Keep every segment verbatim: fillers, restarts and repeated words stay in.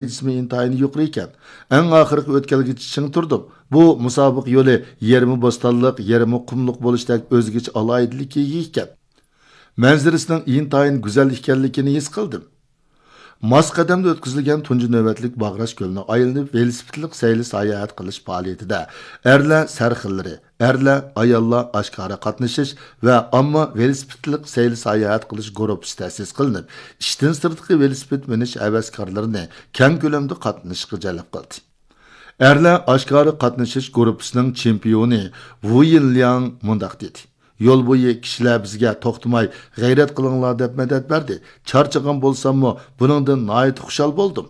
دەرىجىسىمۇ ئىنتايىن يۇقىرى ئىكەن. ئەڭ ئاخىرقى ئۆتكەلگىچە چىڭ تۇردۇم. بۇ مۇسابىقە يولى يېرىمى بوستانلىق، يېرىمى قۇملۇق بولۇشتەك ئۆزگىچە ئالاھىدىلىككە ئىگە ئىكەن. مەنزىرىسىنىڭ ئىنتايىن گۈزەل ئىكەنلىكىنى ھېس قىلدىم. ماس قەدەمدە ئۆتكۈزۈلگەن تۇنجى نۆۋەتلىك باغراش كۆلىنى ئايلىنىپ، ۋېلىسىپىتلىق سەيلە ساياھەت قىلىش پائالىيىتىدە ئەرلەر سەرخىللىرى، ئەرلەر، ئاياللار ئاشكارا قاتنىشىش ۋە ئامما ۋېلىسىپىتلىق سەيلە ساياھەت قىلىش گۇرۇپپىسى تەسىس قىلىنىپ، ئىشتىن سىرتقى ۋېلىسىپىت مىنىش ھەۋەسكارلىرىنى كەڭ كۆلەمدە قاتنىشىشقا جەلپ قىلدى. ئەرلەر ئاشكارا قاتنىشىش گۇرۇپپىسىنىڭ چېمپىيونى ۋۇ يىنلياڭ مۇنداق دېدى: «يول بويى كىشىلەر بىزگە توختىماي غەيرەت قىلىڭلار دەپ مەدەت بەردى. چارچىغان بولساممۇ بۇنىڭدىن ناھايىتى خۇشال بولدۇم.»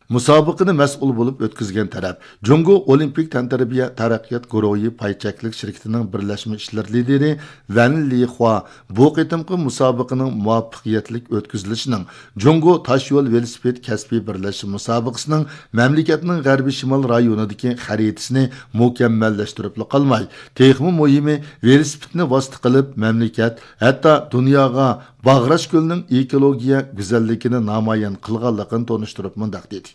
مۇسابىقىنى مەسئۇل بولۇپ ئۆتكۈزگەن تەرەپ جۇڭگو ئولىمپىك تەنتەربىيە تەرەققىيات گۇرۇھى پاي چەكلىك شىركىتىنىڭ بىرلەشمە ئىشلىرى لىدىرى ۋەن لىخۇا بۇ قېتىمقى مۇسابىقىنىڭ مۇۋەپپەقىيەتلىك ئۆتكۈزۈلۈشىنىڭ جۇڭگو تاشيول ۋېلىسىپىت كەسپىي بىرلەشمە مۇسابىقىسىنىڭ مەملىكەتنىڭ غەربىي شىمال رايونىدىكى خەرىتىسىنى مۇكەممەللەشتۈرۈپلا قالماي، تېخىمۇ مۇھىمى، ۋېلىسىپىتنى ۋاسىتە قىلىپ مەملىكەت، ھەتتا دۇنياغا باغراش كۆلىنىڭ ئېكولوگىيە گۈزەللىكىنى نامايان قىلغانلىقىنى تونۇشتۇرۇپ مۇنداق دېدى: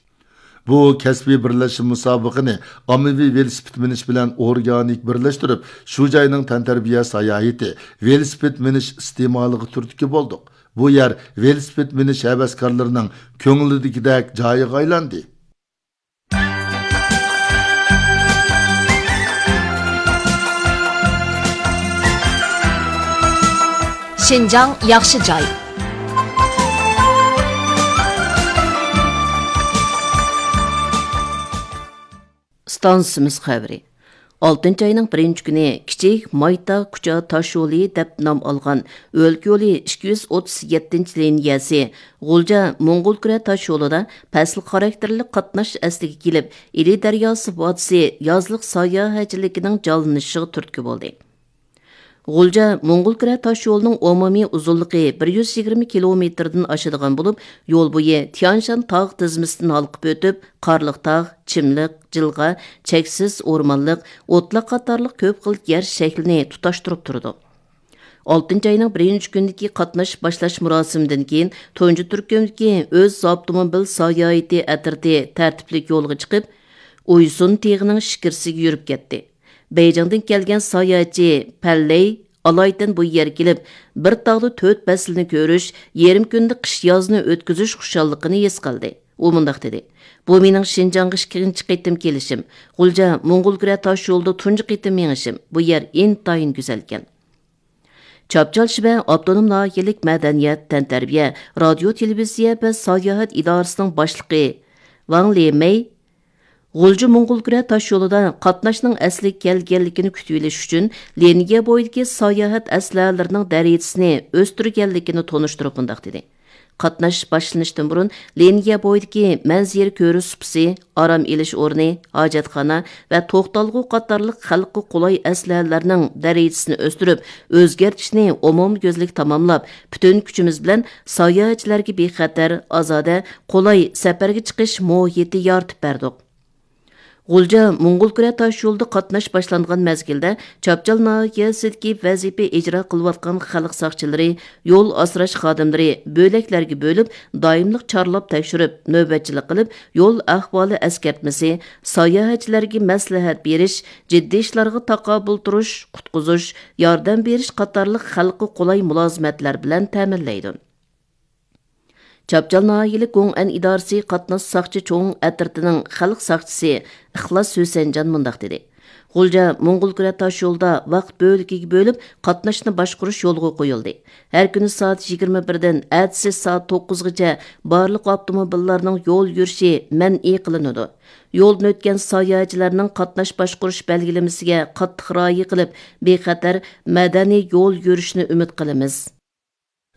«بۇ كەسپىي بىرلەشمە مۇسابىقىنى ئاممىۋى ۋېلىسىپىت مىنىش بىلەن ئورگانىك بىرلەشتۈرۈپ، شۇ جاينىڭ تەنتەربىيە ساياھىتى، ۋېلىسىپىت مىنىش ئىستېمالىغا تۈرتكە بولدۇق. بۇ يەر ۋېلىسىپىت مىنىش ھەۋەسكارلىرىنىڭ كۆڭلىدىكىدەك جايىغا ئايلاندى.» شىنجاڭ ياخشى جاي. ئىستانسىمىز خەۋىرى. ئالتىنچى ئاينىڭ بىرىنچى كۈنى كىچىك مايتاغ كۇچا تاشيولى دەپ نام ئالغان ئۆلكە يولى ئىككى يۈز ئوتتۇز يەتتىنچى لىنىيەسى غۇلجا موڭغۇلكۈرە تاشيولىدا پەسىل خاراكتېرلىك قاتناش ئەسلىگە كېلىپ، ئىلى دەرياسى ۋادىسى يازلىق ساياھەتچىلىكىنىڭ جانلىنىشىغا تۈرتكە بولدى. غۇلجا موڭغۇلكۈرە تاشيولىنىڭ ئومۇمىي ئۇزۇنلۇقى بىر يۈز يىگىرمە كىلومېتىردىن ئاشىدىغان بولۇپ، يول بويى تيانشان تاغ تىزمىسىدىن ھالقىپ ئۆتۈپ، قارلىق تاغ، چىملىق، جىلغا، چەكسىز ئورمانلىق، ئوتلاق قاتارلىق كۆپ خىل يەر شەكلىنى تۇتاشتۇرۇپ تۇرىدۇ. ئالتىنچى ئاينىڭ بىرىنچى كۈنىدىكى قاتناش باشلاش مۇراسىمىدىن كېيىن، تۇنجى تۈركۈمدىكى ئۆز ئاپتوموبىل ساياھىتى ئەترىتى تەرتىپلىك يولغا چىقىپ، ئۇيسۇن تېغىنىڭ شىكىرىسىگە يۈرۈپ كەتتى. بېيجىڭدىن كەلگەن ساياھەتچى پەنلەي ئالايتەن بۇ يەرگە كېلىپ، بىر تاغدا تۆت پەسىلنى كۆرۈش، يېرىم كۈندە قىش-يازنى ئۆتكۈزۈش خۇشاللىقىنى ھېس قىلدى. ئۇ مۇنداق دېدى: «بۇ مېنىڭ شىنجاڭغا ئىككىنچى قېتىم كېلىشىم. غۇلجا موڭغۇلكۈرە تاشيولىدا تۇنجى قېتىم مېڭىشىم. بۇ يەر ئىنتايىن گۈزەلكەن.» چاپچال شىبە ئاپتونوم ناھىيەلىك مەدەنىيەت، تەنتەربىيە، رادىيو، تېلېۋىزىيە ۋە ساياھەت ئىدارىسىنىڭ باشلىقى ۋاڭ لېمەي غۇلجا موڭغۇلكۈرە تاشيولىدا قاتناشنىڭ ئەسلىگە كەلگەنلىكىنى كۈتۈۋېلىش ئۈچۈن، لىنىيە بويىدىكى ساياھەت ئەسلىھەلىرىنىڭ دەرىجىسىنى ئۆستۈرگەنلىكىنى تونۇشتۇرۇپ مۇنداق دېدى: «قاتناش باشلىنىشتىن بۇرۇن لىنىيە بويىدىكى مەنزىرە كۆرۈش سۇپىسى، ئارام ئېلىش ئورنى، ھاجەتخانا ۋە توختالغۇ قاتارلىق خەلققە قولاي ئەسلىھەلەرنىڭ دەرىجىسىنى ئۆستۈرۈپ، ئۆزگەرتىشنى ئومۇميۈزلۈك تاماملاپ، پۈتۈن كۈچىمىز بىلەن ساياھەتچىلەرگە بىخەتەر، ئازادە، قولاي سەپەرگە چىقىش مۇھىتى يارىتىپ بەردۇق.» غۇلجا موڭغۇلكۈرە تاشيولىدا قاتناش باشلانغان مەزگىلدە، چاپچال ناھىيەسىدىكى ۋەزىپە ئىجرا قىلىۋاتقان خەلق ساقچىلىرى، يول ئاسراش خادىملىرى بۆلەكلەرگە بۆلۈپ، دائىملىق چارلاپ تەكشۈرۈپ، نۆۋەتچىلىك قىلىپ، يول ئەھۋالى ئەسكەرتمىسى، ساياھەتچىلەرگە مەسلىھەت بېرىش، جىددىي ئىشلارغا تاقابىل تۇرۇش، قۇتقۇزۇش، ياردەم بېرىش قاتارلىق خەلققە قولاي مۇلازىمەتلەر بىلەن تەمىنلەيدۇ. چاپچال ناھىيەلىك گوڭئەن ئىدارىسى قاتناش ساقچى چوڭ ئەترىتىنىڭ خەلق ساقچىسى ئىخلاس ھۈسەنجان مۇنداق دېدى: «غۇلجا موڭغۇلكۈرە تاشيولىدا ۋاقىت بۆلىكىگە بۆلۈپ قاتناشنى باشقۇرۇش يولغا قويۇلدى. ھەر كۈنى سائەت يىگىرمە بىردىن ئەتىسى سائەت توققۇزغىچە بارلىق ئاپتوموبىللارنىڭ يول يۈرۈشى مەنئى قىلىنىدۇ. يولدىن ئۆتكەن ساياھەتچىلەرنىڭ قاتناش باشقۇرۇش بەلگىلىمىسىگە قاتتىق رىئايە قىلىپ، بىخەتەر، مەدەنىي يول يۈرۈشنى ئۈمىد قىلىمىز.»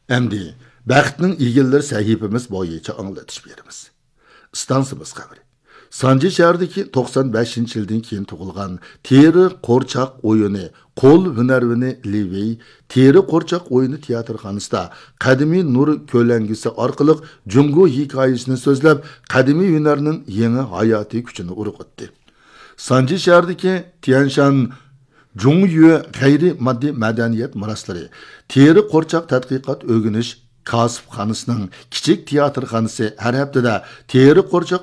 ئەمدى بەختنىڭ ئىگىلىرى سەھىپىمىز بويىچە ئاڭلىتىش بېرىمىز. ئىستانسىمىز خەۋىرى. سانجى شەھىرىدىكى توقسان بەشىنچى يىلدىن كېيىن تۇغۇلغان تېرە قورچاق ئويۇنى قول ھۈنەرۋىنى لى ۋېي تېرە قورچاق ئويۇنى تىياتىرخانىسىدا قەدىمىي نۇر كۆلەڭگىسى ئارقىلىق جۇڭگو ھېكايىسىنى سۆزلەپ، قەدىمىي ھۈنەرنىڭ يېڭى ھاياتىي كۈچىنى ئۇرغۇتتى. سانجى شەھىرىدىكى تيەنشان جۇڭيۈ غەيرىي ماددىي مەدەنىيەت مىراسلىرى تېرە قورچاق تەتقىقات ئۆگىنىش كاسىپخانىسىنىڭ كىچىك تىياتىرخانىسى ھەر ھەپتىدە تېرە قورچاق